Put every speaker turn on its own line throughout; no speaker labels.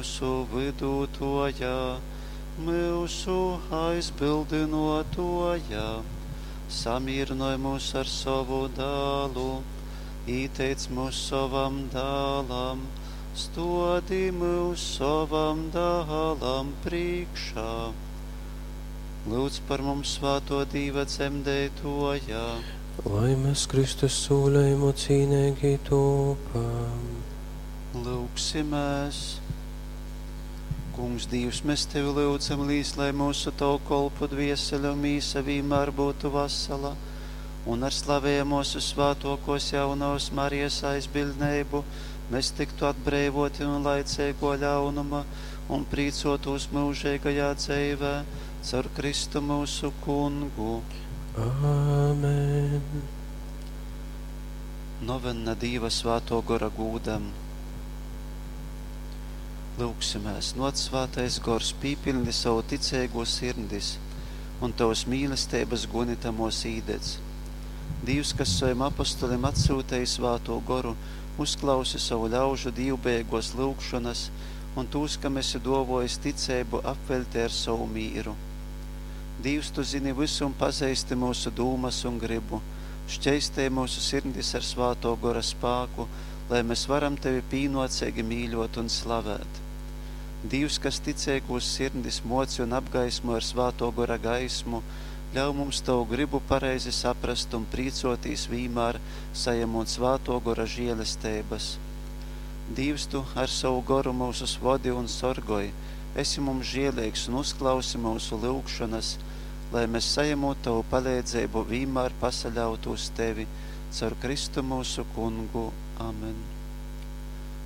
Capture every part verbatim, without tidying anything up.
myusu vydūtōja, myusu aizbyldynōtōja, samīrynoj mūs ar sovu dālu, īteic mūs sovam dālam, stōdi mūs sovam dālam prīkšā. Lūdz par mums svātō Dīva dzemdeitōja.
Lai mēs Kristus sūlējumu cīneigi tūpam.
Lūgsimies! Kungs, Dīvs, mēs Tevi lyudzam, līs, lai mūsu Tavu kolpu dviesele un mīsa vīnmēr būtu vasala, un ar slavējamos un svātokos jaunavas Marijas aizbildneibu mēs tiktu atbreivoti no laicīgo ļaunuma un prīcotos mūžīgajā dzīvē caur Kristu mūsu kungu.
Āmen.
Novenna Dīva svāto gora gūdam. Lūgsimies, nāc svētais gors, pīpildi savu ticīgo sirdis un tavas mīlestības guni tamos īdedz. Dīvs, kas saviem apostolim atsūtīja svāto goru, uzklausi savu ļaužu dīvbejīgos lūgšanas un tūs, kam esi dovojis ticību, apveļti ar savu mīru. Dīvs, tu zini visu un pazīsti mūsu dūmas un gribu. Šķeistē mūsu sirdis ar svāto gora spāku, lai mēs varam tevi pīnocīgi mīļot un slavēt. Dīvs, kas ticīgos sirdis moci un apgaismo ar svāto gora gaismu, ļauj mums tavu gribu pareizi saprast un prīcotīs vīmēr, sajamot svāto gora žēlestības. Dīvs, tu ar savu goru mūsu vodi un sorgoj, esi mums žēlīgs un uzklausi mūsu lūgšanas, lai mēs sajamot tavu palīdzību vīmēr pasaļautu uz tevi, caur Kristu mūsu kungu. Amen.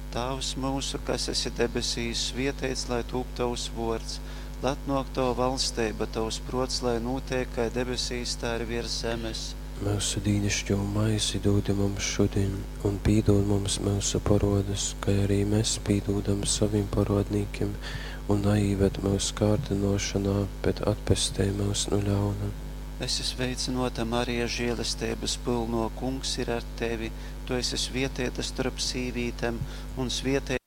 Tēvs mūsu, kas esi debesīs, svietēts, lai tūp tavs vārds, lai atnāk tava valstība, tavs prots, lai notiek, kā debesīs, tā ir virs zemes.
Mūsu dīnišķo maizi dodi mums šodien, un pīdod mums mūsu parodus, kā arī mēs pīdodam saviem parodnīkiem, un neīved mūsu kārdinošanā, bet atpestē mūs no ļauna.
Esi sveicināta, Marija, žēlestības pilno, kungs ir ar tevi. Tu esi svietēta starp sīvītēm, un svietēts